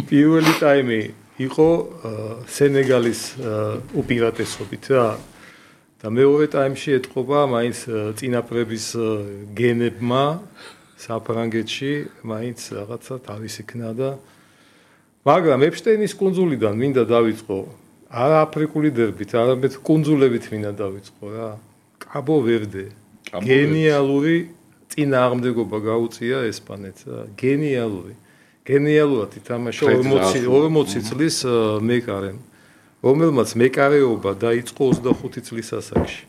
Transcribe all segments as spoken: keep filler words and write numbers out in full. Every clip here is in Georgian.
პირველი ტაიმი იყო სენეგალის უპირატესობით რა და მეორე ტაიმში ეთყობა მაინც წინაპრების გენებმა საფრანგეთში მაინც რაღაცა თავის იქნა და მაგრამ ეპშტეინის კუნძულიდან მინდა დავიწყო არა აფრიკული დერბით, არამედ კუნძულებით მინდა დავიწყო რა. კაბო ვერდე. გენიალური წინააღმდეგობა გაუწია ესპანეთს რა. გენიალური. გენიალურად ითამაშა ორმოცი წლის მეკარემ, რომელმაც მეკარეობა დაიწყო ოცდახუთი წლის ასაკში.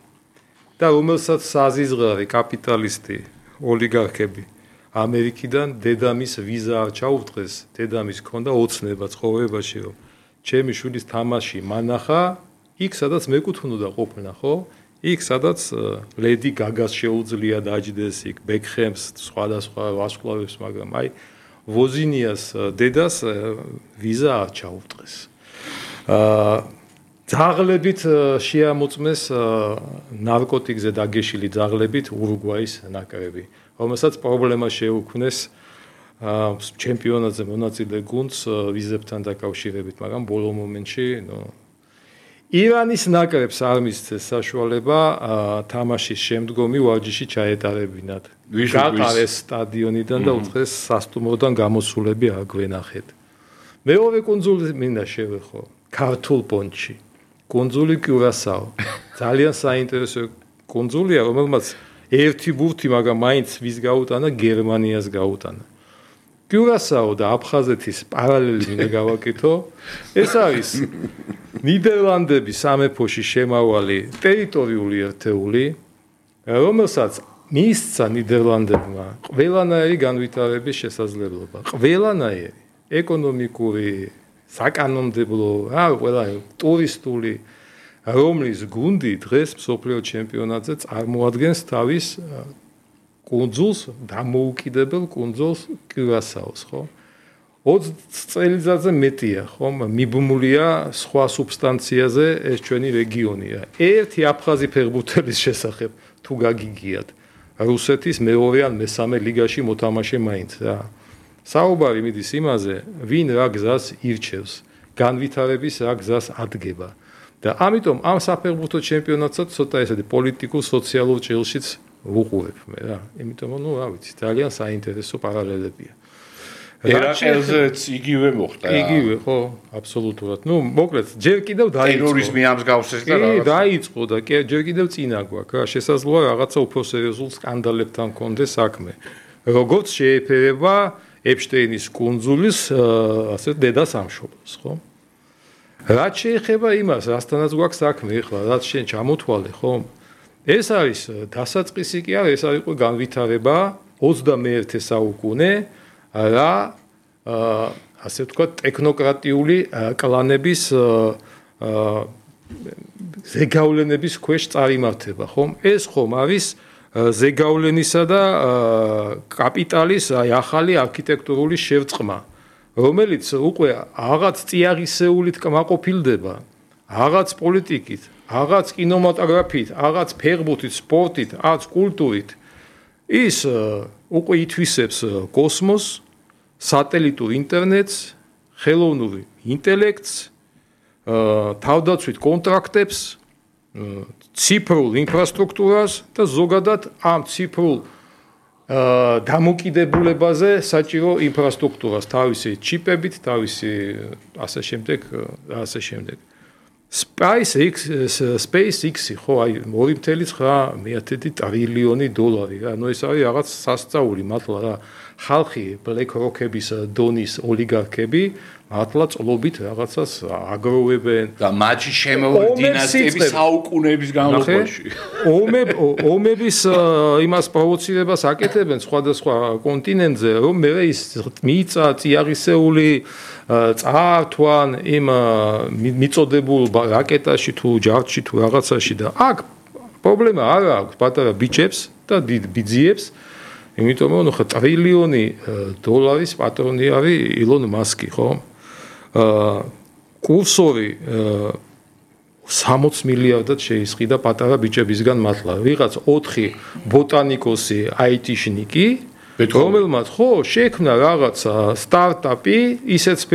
და რომელსაც საზიზღარი კაპიტალისტი ოლიგარქები ამერიკიდან დედამის ვიზა არ ჩაუდგეს, დედამის ჰქონდა ოცნება ცხოვრებაში, რომ ჩემი შვილის თამაში მანახა, იქ სადაც მეკუთვნოდა ყოფნა, ხო? იქ სადაც ლედი გაგას შეუძლია დაჯდეს, იქ ბეკჰემს, სხვადასხვა ვარსკვლავებს, მაგრამ აი ვოზინიას დედას ვიზა არ ჩაუდგეს. აა ძაღლებით შეამოწმეს ნარკოტიკზე დაგეშილი ძაღლებით ურუგვაის ნაკრები, რომელსაც პრობლემა შეუქმნეს ჩემპიონატზე მონაწილე გუნდს ვიზებთან დაკავშირებით, მაგრამ ბოლო მომენტში, ნუ ირანის ნაკრებს არ მისცეს საშუალება თამაშის შემდგომი ვარჯიში ჩაეტარებინათ. გატარეს სტადიონიდან და უცხეს სასტუმროდან გამოსულები არ გვენახეთ. მეორე კუნძული მინდა შევეხო, ქართულ პონჩი. კუნძული კიურასაო. ძალიან საინტერესო კუნძულია, რომელმაც ერთი ბურთი, მაგრამ მაინც ვის გაუტანა, გერმანიას გაუტანა. კიურასაო და აფხაზეთის პარალელი მინდა გავაკეთო. ეს არის ნიდერლანდების სამეფოში შემავალი ტერიტორიული ერთეული, რომელსაც მისცა ნიდერლანდებმა ყველანაირი განვითარების შესაძლებლობა, ყველანაირი ეკონომიკური, საკანონმდებლო, რა ყველა ტურისტული, რომლის გუნდი დღეს მსოფლიო ჩემპიონატზე წარმოადგენს თავის კუნძულს, დამოუკიდებელ კუნძულს კიურასაოს, ხო? ოცდაათი წელიწადზე მეტია, ხო? მიბმულია სხვა სუბსტანციაზე ეს ჩვენი რეგიონია. ერთი აფხაზი ფეხბურთელის შესახებ თუ გაგიგიათ, რუსეთის მეორე ან მესამე ლიგაში მოთამაშე მაინც რა. საუბარი მიდის იმაზე, ვინ რა გზას ირჩევს, განვითარების რა გზას ადგება. და ამიტომ ამ საფეხბურთო ჩემპიონატსაც ცოტა ესეთი პოლიტიკურ სოციალურ ჭრილშიც ვუყურებ მე რა. იმიტომ რომ ნუ რა ვიცი, ძალიან საინტერესო პარალელებია. ერაყელზეც იგივე მოხდა. იგივე, ხო, აბსოლუტურად. ნუ მოკლედ, ჯერ კიდევ დაიწყო. ტერორიზმი ამსგავსეს და რაღაცა. კი, დაიწყო და ჯერ კიდევ წინა გვაქვს რა. შესაძლოა რაღაცა უფრო სერიოზულ სკანდალებთან კონდეს საქმე. როგორც შეეფერება ეპშტეინის კუნძულის ასე დედა სამშობლოს, ხო? რაც შეეხება იმას, რასთანაც გვაქვს საქმე ახლა, რაც შენ ჩამოთვალე, ხო? ეს არის დასაწყისი კი არა, ეს არის უკვე განვითარება ოცდამეერთე საუკუნე რა ასე ვთქვათ ტექნოკრატიული კლანების ზეგავლენების ქვეშ წარიმართება, ხომ? ეს ხომ არის ზეგავლენისა და კაპიტალის აი ახალი არქიტექტურული შევწყმა, რომელიც უკვე რაღაც წიაღისეულით კმაყოფილდება, რაღაც პოლიტიკით, რაღაც კინემატოგრაფით, რაღაც ფეხბურთით, სპორტით, რაღაც კულტურით. ის უკვე ითვისებს კოსმოსს, სატელიტურ ინტერნეტს, ხელოვნურ ინტელექტს, თავდაცვით კონტრაქტებს, ციფრულ ინფრასტრუქტურას და ზოგადად ამ ციფრულ დამოკიდებულებაზე საჭირო ინფრასტრუქტურას, თავისი ჩიპებით, თავისი ასე შემდეგ, ასე შემდეგ. SpaceX, SpaceX-ი ხო აი ორი წელი ცხრა მეათედი ტრილიონი დოლარი რა, ნუ ეს არის რაღაც სასწაული მართლა რა. ხალხი Black Rock-ების დონის ოლიგარქები მართლა წლობით რაღაცას აგროვებენ და მათი შემოვიდა დინასტიების საუკუნეების განმავლობაში. ომების იმას პროვოცირებას აკეთებენ სხვადასხვა კონტინენტზე, რომ მე ის მიიწა წიაღისეული წაართვან იმ მიწოდებულ რაკეტაში თუ ჯარდში თუ რაღაცაში და აქ პრობლემა არ აქვს პატარა ბიჭებს და დიდ ბიძიებს, იმიტომ რომ ხო ტრილიონი დოლარის პატრონი არის ილონ მასკი, ხო? აა კურსორი სამოცი მილიარდად შეისყიდა პატარა ბიჭებისგან მართლა. ვიღაც ოთხი ბოტანიკოსი აიტიშნიკი, რომელმაც ხო შექმნა რაღაცა სტარტაპი, ისეთ